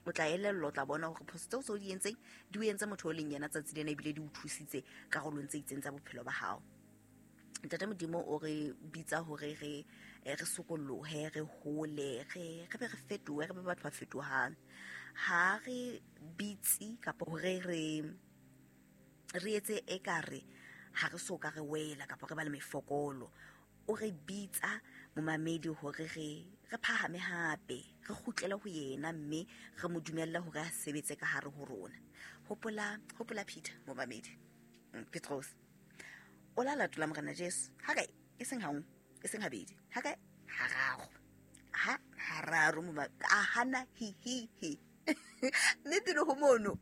O tla elellwa, o tla bona hore phoso tseo tseo di entseng di o entse motho o leng yena tsatsi lena, ebile di o thusitse karolong tse itseng tsa bophelo ba hao. Ntate Modimo o re bitsa hore re sokollohe, re hole, re be re fetohe, re be batho ba fetohang. Ha re bitse kapa hore re etse ekare ha re so ka re wela kapa re ba le mefokolo. O re bitsa momamedi hore re phahame hape, re kgutlele ho yena mme re mo dumelle hore a sebetse ka hare ho rona. Hopola Peter momamedi, Petros. O la latola Morena Jesu. Ha kae? E seng ha nngwe, e seng habedi. Ha kae? Hararo. Ha hararo a hana hi hi hi. Mme pele ho mono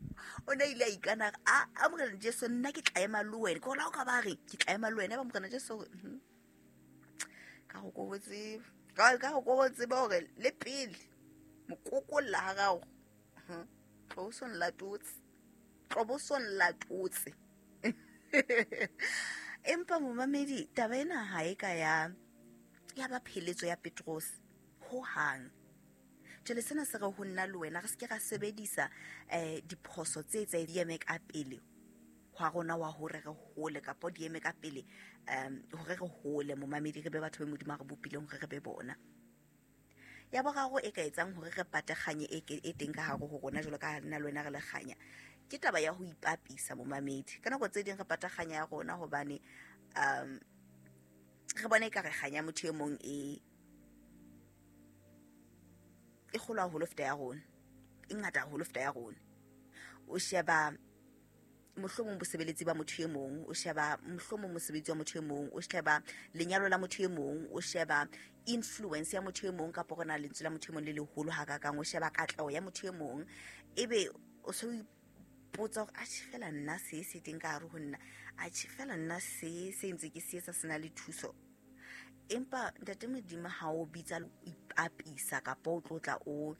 o ne ile a ikana a Morena Jesu, nna ke tla ema le wena. Ke hola o ka ba re ke tla ema le wena, ba Morena Jesu hore, ka go ko tseba, ka go ko tseba hore le pele mokokolla ha gago, tlosong latotse, tlobosong latotse. Empa momamedi, taba ena ha e ka ya ba pheletso ya Petros ho hang. Jwale sena se re ho nna le wena re se ke ra sebedisa diphoso tse tse di eme ka pele hwa rona wa hore re hole, kapa di eme ka pele hore re hole momamedi, re be batho ba Modimo a re bopileng hore re be bona. Ya boraro e ka etsang hore re pate kganye e teng ka hare ho rona jwalo ka nna le wena re le kganya, ke taba ya ho ipapisa momamedi. Ka nako tse ding re pata kganya ya rona hobane re bona ekare kganya motho e mong e kgolo haholo feta ya rona, e ngata haholo feta ya rona. O sheba mohlomong bosebeletsi ba motho e mong, o sheba mohlomong mosebetsi wa motho e mong, o sheba lenyalo la motho e mong, o sheba influence ya motho e mong, kapa hore na lentswe la motho e mong le leholo hakakang, o sheba katleho ya motho e mong, ebe o so ipotsa hore atjhe fela nna se se teng ka hare ho nna, atjhe fela nna se se ntse ke se etsa se na le thuso. Empa Ntate Modimo ha o bitsa ipapisa kapa o tlotla o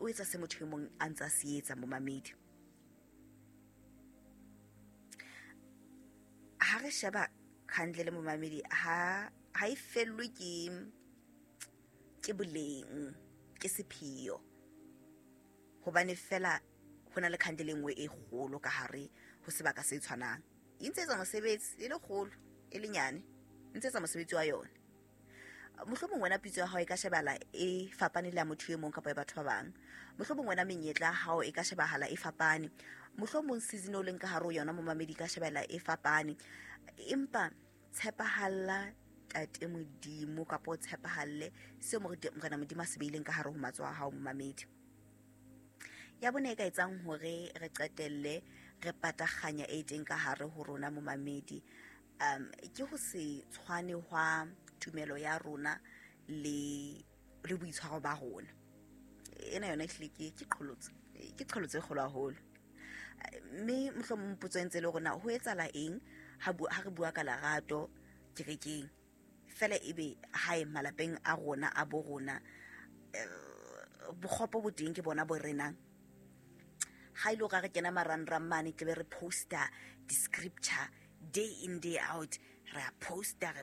etsa se motho e mong a ntsa se etsa momamedi. Ha re sheba khandle le momamedi, ha e fellwe ke boleng, ke sepheo, hobane fela ho na le khandle e nngwe e kgolo ka hare ho sebaka se tshwanang. E ntse etsa mosebetsi, e le kgolo, e le nyane, e ntse etsa mosebetsi wa yona. Mohlomong wena pitso ya hao e ka shebahala e fapane le ya motho e mong kapa ya batho ba bang. Mohlomong wena menyetla ya hao e ka shebahala e fapane. Mohlomong season o leng ka hare ho yona momamedi e ka shebahala e fapane. Empa tshepahalla Ntate Modimo kapa o tshepahalle seo Morena Modimo a se beileng ka hare ho matsoho a hao momamedi. Ya bone e ka etsang hore re qetelle re pata kganya e teng ka hare ho rona momamedi, ke ho se tshwane hwa tumelo ya rona le boitshwaro ba rona. Ena yona ehlile ke qholotso, ke qholotso e kgolo haholo. Mme mohlomong potso e ntse le rona, ho etsahala eng ha re bua ka lerato kerekeng, fela ebe hae malapeng a rona a bo rona, bokgopo bo teng ke bona bo renang. Ha ile hore re kena marangrang mane, tle be re poster di-scripture day in day out, re a poster, re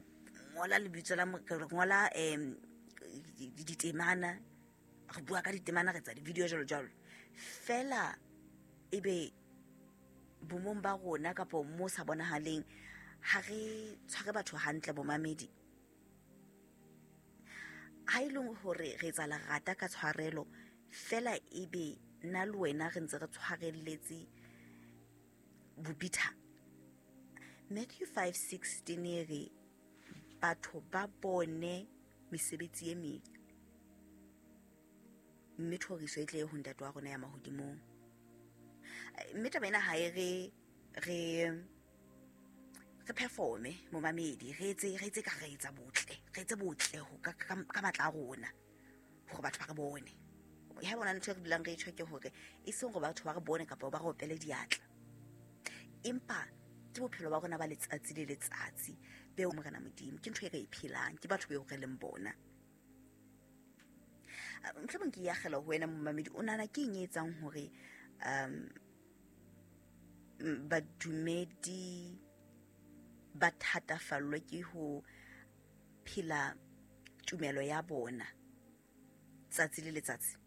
ngola lebitso la re ngola ditemana, re bua ka ditemana, re etsa di-video jwalo jwalo. Fela ebe bomong ba rona kapa mo sa bonahaleng, ha re tshware batho hantle bomamedi. Ha e leng hore re etsa lerata ka tshwarelo, fela ebe nna le wena re ntse re tshwarelletse bobitha. Matthew 5:16 e re batho ba bone mesebetsi e mebe, mme thoriso e tle ho Ntate wa rona ya mahodimong. Mme taba ena ha e re performe momamedi, re etse ka re etsa botle, re etse botle ho ka matla a rona hore batho ba re bone. Ha bona ntho e re dulang re e tjho ke hore e seng hore batho ba re bone kapa ba re opele diatla, empa ke bophelo ba rona ba letsatsi le letsatsi beo Morena Modimo, ke ntho e re e phelang, ke batho beo re leng bona. Mohlomong ke akgela ho wena momamedi, o nahana ke eng e etsang hore badumedi ba thatafallwe ke ho phela tumelo ya bona tsatsi le letsatsi?